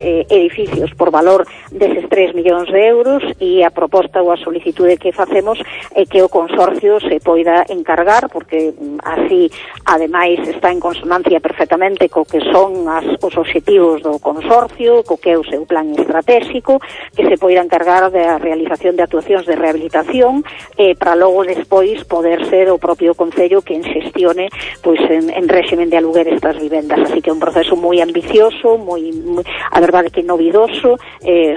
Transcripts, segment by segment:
edificios por valor deses 3 millóns de euros, e a proposta ou a solicitude que facemos é que o consorcio se poida encargar, porque así ademais está en consonancia perfectamente co que son os obxectivos do consorcio, co que é o seu plan estratégico, que se poida encargar da realización de actuacións de rehabilitación para logo despois poder ser o propio Concello quen xestione pois en réximen de aluguer estas vivendas. Así que é un proceso moi ambicioso, moi a verdade que novidoso,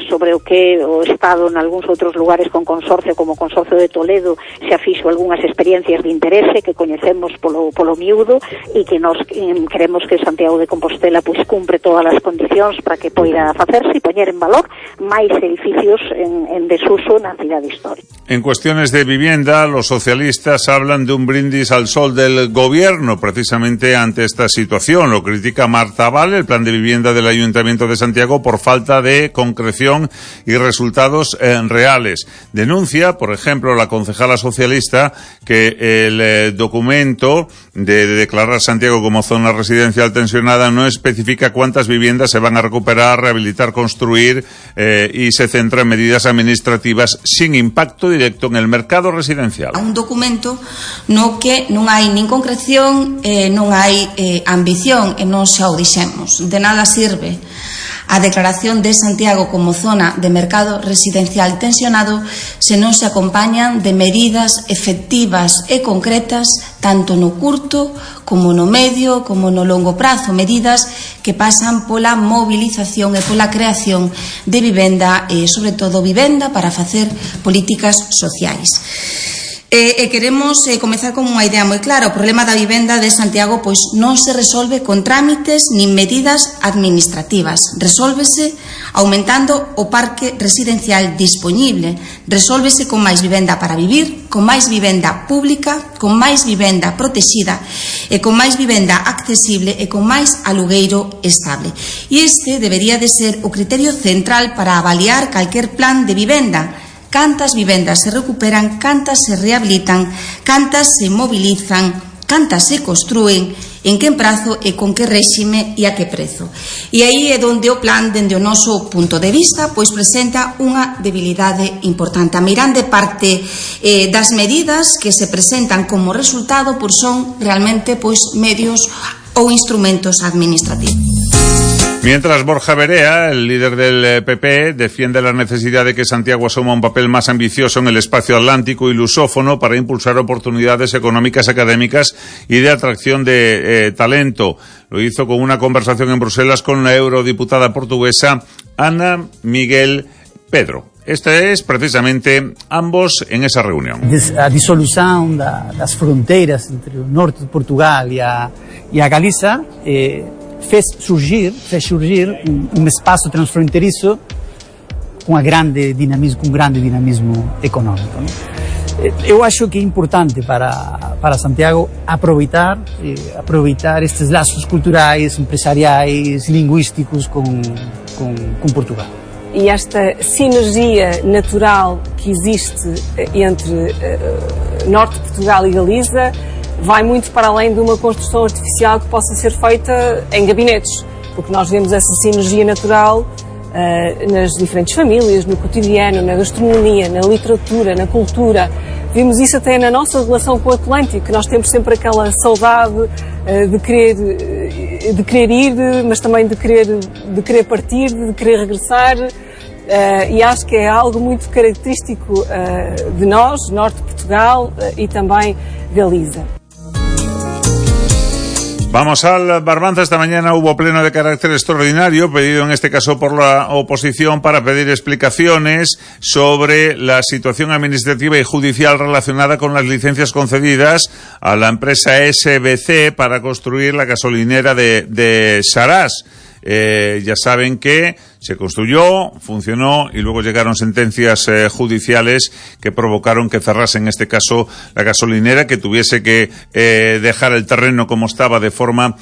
sobre o que o Estado en algúns outros lugares con consorcio, como o Consorcio de Toledo, xa fixo algunhas experiencias de interese que coñecemos polo miúdo, e que nos queremos que Santiago de Compostela pois cumpre todas as condicións para que poida facerse e poñer en valor máis edificios en desuso na cidade histórica. En cuestiones de vivienda, los socialistas hablan de un brindis al sol del gobierno precisamente ante esta situación. Lo critica Marta Val, el plan de vivienda del Ayuntamiento de Santiago, por falta de concreción y resultados reales. Denuncia, por ejemplo, la concejala socialista que el documento de declarar Santiago como zona residencial tensionada no especifica cuántas viviendas se van a recuperar, rehabilitar, construir y se centra en medidas administrativas sin impacto directo en el mercado residencial. Un documento no que non hai nin concreción, non hai ambición, e non xa o dixemos. De nada sirve a declaración de Santiago como zona de mercado residencial tensionado se non se acompañan de medidas efectivas e concretas tanto no curto como no medio como no longo prazo, medidas que pasan pola movilización e pola creación de vivenda e sobre todo vivenda para facer políticas sociais. Queremos comezar con unha idea moi clara. O problema da vivenda de Santiago pois non se resolve con trámites nin medidas administrativas. Resólvese aumentando o parque residencial dispoñible. Resólvese con máis vivenda para vivir, con máis vivenda pública, con máis vivenda protexida e con máis vivenda accesible e con máis alugueiro estable. E este debería de ser o criterio central para avaliar calquer plan de vivenda. Cantas vivendas se recuperan, cantas se rehabilitan, cantas se mobilizan, cantas se construen, en que prazo e con que réxime e a que prezo. E aí é onde o plan, dende o noso punto de vista, pois presenta unha debilidade importante. A meirande parte das medidas que se presentan como resultado pois son realmente pois medios ou instrumentos administrativos. Mientras Borja Verea, el líder del PP, defiende la necesidad de que Santiago asuma un papel más ambicioso en el espacio atlántico y lusófono para impulsar oportunidades económicas, académicas y de atracción de talento. Lo hizo con una conversación en Bruselas con la eurodiputada portuguesa Ana Miguel Pedro. Este es precisamente ambos en esa reunión. A disolución das fronteiras entre o norte de Portugal e a Galiza fez surgir um espaço transfronteiriço com um grande dinamismo econômico, né? Eu acho que é importante para Santiago aproveitar estes laços culturais, empresariais, linguísticos com Portugal. E esta sinergia natural que existe entre Norte de Portugal e Galiza vai muito para além de uma construção artificial que possa ser feita em gabinetes, porque nós vemos essa sinergia natural nas diferentes famílias, no cotidiano, na gastronomia, na literatura, na cultura. Vimos isso até na nossa relação com o Atlântico, que nós temos sempre aquela saudade de querer ir, mas também de querer partir, de querer regressar. E acho que é algo muito característico de nós, Norte de Portugal e também Galiza. Vamos al Barbanza. Esta mañana hubo pleno de carácter extraordinario, pedido en este caso por la oposición, para pedir explicaciones sobre la situación administrativa y judicial relacionada con las licencias concedidas a la empresa SBC para construir la gasolinera de Sarás. Ya saben que se construyó, funcionó y luego llegaron sentencias judiciales que provocaron que cerrase en este caso la gasolinera, que tuviese que dejar el terreno como estaba de forma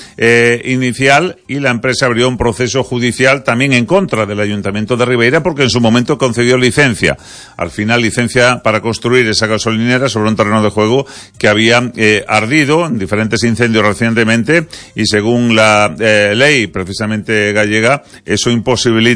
inicial, y la empresa abrió un proceso judicial también en contra del Ayuntamiento de Ribeira porque en su momento concedió licencia. Al final licencia para construir esa gasolinera sobre un terreno de juego que había ardido en diferentes incendios recientemente, y según la ley precisamente gallega, eso imposibilita